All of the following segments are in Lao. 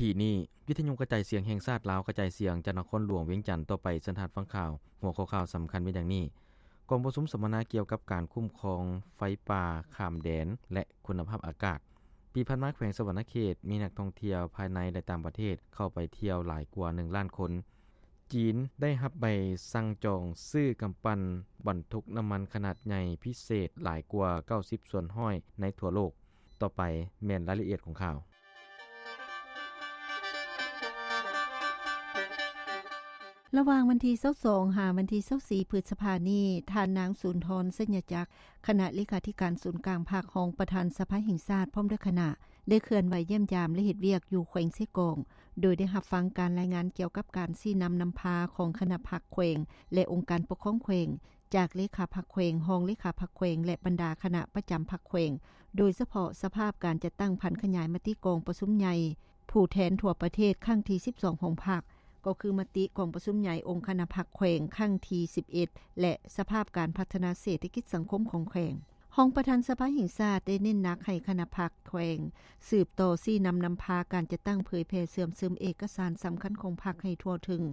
ທີ່ນີ້ ວິທະຍຸກະຈາຍສຽງແຫ່ງຊາດລາວ ກະຈາຍສຽງຈາກນະຄອນຫຼວງວຽງຈັນຕໍ່ໄປ. ເຊີນທ່ານຟັງຂ່າວ. ຫົວຂໍ້ຂ່າວສຳຄັນມີດັ່ງນີ້: ກອງປະຊຸມສຳມະນາກ່ຽວກັບການຄຸ້ມຄອງໄຟປ່າຂ້າມແດນ ແລະ ຄຸນນະພາບອາກາດ. ປີຜ່ານມາ ແຂວງສະຫວັນນະເຂດ ມີນັກທ່ອງທ່ຽວພາຍໃນ ແລະ ຕ່າງປະເທດ ເຂົ້າໄປທ່ຽວຫຼາຍກວ່າ ໜຶ່ງລ້ານຄົນ. ຈີນໄດ້ຮັບໃບສັ່ງຈອງຊື້ກຳປັ່ນບັນທຸກນ້ຳມັນຂະໜາດໃຫຍ່ພິເສດຫຼາຍກວ່າ ເກົ້າສິບສ່ວນຮ້ອຍ ໃນທົ່ວໂລກ. ຕໍ່ໄປແມ່ນລາຍລະອຽດຂອງຂ່າວ. ລະຫວ່າງວັນທີຊາວສອງ ຫາວັນທີຊາວສີ່ ພຶດສະພານີ້, ທ່ານນາງ ສູນທອນ ໄຊຍະຈັກ ຄະນະເລຂາທິການສູນກາງພັກ, ຮອງປະທານສະພາແຫ່ງຊາດ ພ້ອມດ້ວຍຄະນະ ໄດ້ເຄື່ອນໄຫວຢ້ຽມຢາມ ແລະ ເຮັດວຽກຢູ່ແຂວງເຊກອງ, ໂດຍໄດ້ຮັບຟັງການລາຍງານກ່ຽວກັບການຊີ້ນຳນຳພາຂອງຄະນະພັກແຂວງ ແລະ ອົງການປົກຄອງແຂວງ, ຈາກເລຂາພັກແຂວງ, ຮອງເລຂາພັກແຂວງ ແລະ ບັນດາຄະນະປະຈຳພັກແຂວງ, ໂດຍສະເພາະສະພາບການຈັດຕັ້ງຜັນຂະຫຍາຍມະຕິກອງປະຊຸມໃຫຍ່ຜູ້ແທນທົ່ວປະເທດຄັ້ງທີສິບສອງຂອງພັກ, ກໍຄືມະຕິກອງປະຊຸມໃຫຍ່ອົງຄະນະພັກແຂວງຄັ້ງທີສິບເອັດ ແລະ ສະພາບການພັດທະນາເສດຖະກິດສັງຄົມຂອງແຂວງ. ຮອງປະທານສະພາແຫ່ງຊາດໄດ້ເນັ້ນໜັກໃຫ້ຄະນະພັກແຂວງສືບຕໍ່ຊີ້ນຳນຳພາການຈັດຕັ້ງເຜີຍແຜ່ເຊື່ອມຊຶມເອກະສານສຳຄັນຂອງພັກໃຫ້ທົ່ວເຖິງ,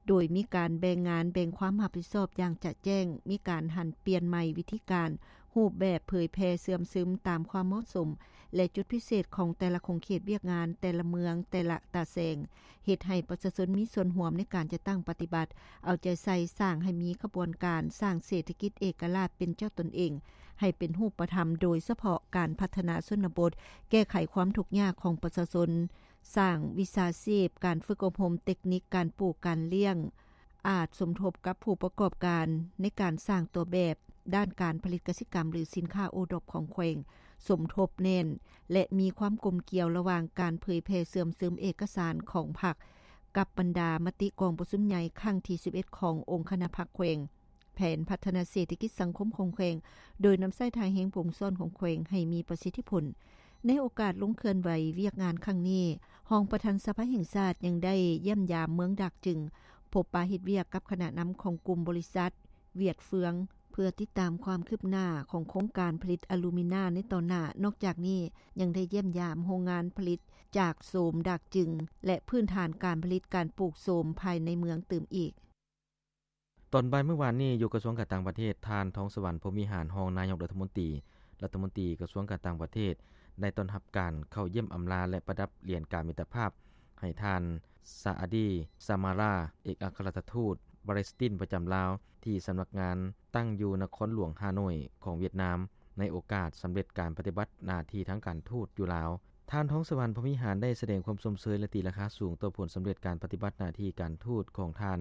ໂດຍມີການແບ່ງງານແບ່ງຄວາມຮັບຜິດຊອບຢ່າງຈະແຈ້ງ, ມີການຫັນປ່ຽນໃໝ່ວິທີການ, ຮູບແບບເຜີຍແຜ່ເຊື່ອມຊຶມຕາມຄວາມເໝາະສົມ ແລະ ຈຸດພິເສດຂອງແຕ່ລະຂົງເຂດວຽກງານ, ແຕ່ລະເມືອງ, ແຕ່ລະຕາແສງ, ເຮັດໃຫ້ປະຊາຊົນມີສ່ວນຮ່ວມໃນການຈັດຕັ້ງປະຕິບັດ, ເອົາໃຈໃສ່ສ້າງໃຫ້ມີຂະບວນການສ້າງເສດຖະກິດເອກະລາດເປັນເຈົ້າຕົນເອງ ໃຫ້ເປັນຮູບປະທຳ, ໂດຍສະເພາະການພັດທະນາຊົນນະບົດ, ແກ້ໄຂຄວາມທຸກຍາກຂອງປະຊາຊົນ, ສ້າງວິຊາຊີບ, ການຝຶກອົບຮົມເຕັກນິກການປູກການລ້ຽງ, ອາດສົມທົບກັບຜູ້ປະກອບການໃນການສ້າງຕົວແບບດ້ານການຜະລິດກະສິກຳ ຫຼື ສິນຄ້າໂອດອບຂອງແຂວງ, ສົມທົບແໜ້ນ ແລະ ມີຄວາມກົມກ່ຽວລະຫວ່າງການເຜີຍແຜ່ເຊື່ອມຊຶມເອກະສານຂອງພັກ ກັບບັນດາມະຕິກອງປະຊຸມໃຫຍ່ຄັ້ງທີສິບເອັດຂອງອົງຄະນະພັກແຂວງ, ແຜນພັດທະນາເສດຖະກິດສັງຄົມຂອງແຂວງ, ໂດຍນຳໃຊ້ທ່າແຮງວົງຊ້ອນຂອງແຂວງໃຫ້ມີປະສິດທິຜົນ. ໃນໂອກາດລົງເຄື່ອນໄຫວວຽກງານຄັ້ງນີ້, ຮອງປະທານສະພາແຫ່ງຊາດຍັງໄດ້ຢ້ຽມຢາມເມືອງດາກຈຶງ, ພົບປະເຮັດວຽກກັບຄະນະນຳຂອງກຸ່ມບໍລິສັດຫວຽດເຟືອງ ເພື່ອຕິດຕາມຄວາມຄືບໜ້າຂອງໂຄງການຜະລິດອາລູມິນາໃນຕໍ່ໜ້າ. ນອກຈາກນີ້, ຍັງໄດ້ຢ້ຽມຢາມໂຮງງານຜະລິດຈາກໂສມດາກຈຶງ ແລະ ພື້ນຖານການຜະລິດການປູກໂສມພາຍໃນເມືອງຕື່ມອີກ. ຕອນບ່າຍມື້ວານນີ້, ຢູ່ກະຊວງການຕ່າງປະເທດ, ທ່ານ ທອງສະຫວັນ ພົມວິຫານ ຮອງນາຍົກລັດຖະມົນຕີ, ລັດຖະມົນຕີກະຊວງການຕ່າງປະເທດ ໄດ້ຕ້ອນຮັບການເຂົ້າຢ້ຽມອຳລາ ແລະ ປະດັບຫຼຽນກາມິດຕະພາບໃຫ້ທ່ານ ຊາອາດີ ຊາມາລາ ເອກອັກຄະລັດຖະທູດປາເລສຕິນປະຈຳລາວ ທີ່ສຳນັກງານຕັ້ງຢູ່ນະຄອນຫຼວງຮ່າໂນ້ຍຂອງຫວຽດນາມ ໃນໂອກາດສຳເລັດການປະຕິບັດໜ້າທີ່ທາງການທູດຢູ່ລາວ. ທ່ານ ທອງສະຫວັນ ພົມວິຫານ ໄດ້ສະແດງຄວາມຊົມເຊີຍ ແລະ ຕີລາຄາສູງຕໍ່ຜົນສຳເລັດການປະຕິບັດໜ້າທີ່ການທູດຂອງທ່ານ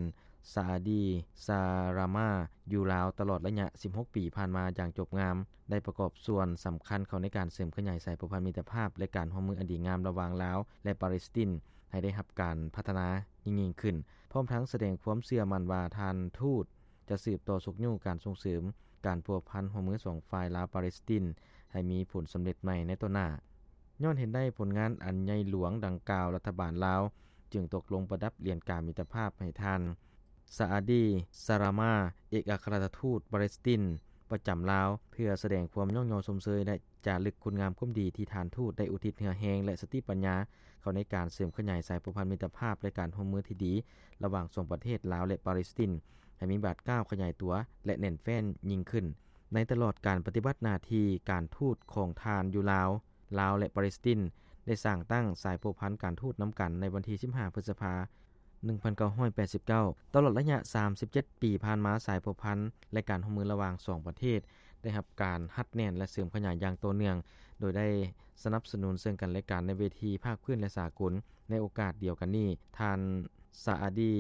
ຊາອາດີ ຊາຣາມາ ຢູ່ລາວຕະຫຼອດໄລຍະສິບຫົກປີຜ່ານມາຢ່າງຈົບງາມ, ໄດ້ປະກອບສ່ວນສຳຄັນເຂົ້າໃນການເສີມຂະຫຍາຍສາຍພົວພັນມິດຕະພາບ ແລະ ການຮ່ວມມືອັນດີງາມລະຫວ່າງລາວ ແລະ ປາເລສຕິນ ໃຫ້ໄດ້ຮັບການພັດທະນາຍິ່ງໆຂຶ້ນ, ພ້ອມທັງສະແດງຄວາມເຊື່ອໝັ້ນວ່າທ່ານທູດຈະສືບຕໍ່ຊຸກຍູ້ການສົ່ງເສີມການພົວພັນຮ່ວມມືສອງຝ່າຍລາວ-ປາເລສຕິນ ໃຫ້ມີຜົນສຳເລັດໃໝ່ໃນຕໍ່ໜ້າ. ຍ້ອນເຫັນໄດ້ຜົນງານອັນໃຫຍ່ຫຼວງດັ່ງກ່າວ, ລັດຖະບານລາວຈຶ່ງຕົກລົງປະດັບຫຼຽນກາມິດຕະພາບໃຫ້ທ່ານ ຊາອາດີ ຊາຣາມາ ເອກອັກຄະລັດຖະທູດປາເລສຕິນປະຈຳລາວ ເພື່ອສະແດງຄວາມຍ້ອງຍໍຊົມເຊີຍ ແລະ ຈາລຶກຄຸນງາມຄວາມດີທີ່ທ່ານທູດໄດ້ອຸທິດເຫື່ອແຮງ ແລະ ສະຕິປັນຍາເຂົ້າໃນການເສີມຂະຫຍາຍສາຍພົວພັນມິດຕະພາບ ແລະ ການຮ່ວມມືທີ່ດີລະຫວ່າງສອງປະເທດລາວ ແລະ ປາເລສຕິນ ໃຫ້ມີບາດກ້າວຂະຫຍາຍຕົວ ແລະ ແໜ້ນແຟ້ນຍິ່ງຂຶ້ນ. ໃນຕະຫຼອດການປະຕິບັດໜ້າທີ່ການທູດຂອງທ່ານຢູ່ລາວ, ລາວ ແລະ ປາເລສຕິນ ໄດ້ສ້າງຕັ້ງສາຍພົວພັນການທູດນຳກັນໃນວັນທີສິບຫ້າ ພຶດສະພາ ໜຶ່ງພັນເກົ້າຮ້ອຍແປດສິບເກົ້າ. ຕະຫຼອດໄລຍະສາມສິບເຈັດປີຜ່ານມາ, ສາຍພົວພັນ ແລະ ການຮ່ວມມືລະຫວ່າງສອງປະເທດ ໄດ້ຮັບການຮັດແໜ້ນ ແລະ ເສີມຂະຫຍາຍຢ່າງຕໍ່ເນື່ອງ, ໂດຍໄດ້ສະໜັບສະໜູນເຊິ່ງກັນແລະກັນໃນເວທີພາກພື້ນ ແລະ ສາກົນ. ໃນໂອກາດດຽວກັນນີ້, ທ່ານ ຊາອາດີ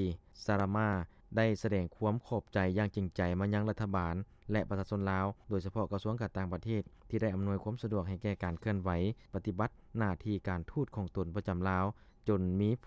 ຊາຣາມາ ໄດ້ສະແດງຄວາມຂອບໃຈຢ່າງຈິງໃຈມາຍັງລັດຖະບານ ແລະ ປະຊາຊົນລາວ, ໂດຍສະເພາະກະຊວງການຕ່າງປະເທດ ທີ່ໄດ້ອຳນວຍຄວາມສະດວກໃຫ້ແກ່ການເຄື່ອນໄຫວປະຕິບັດໜ້າທີ່ການທູດຂອງຕົນປະຈຳລາວ ຈົນມີຜົນ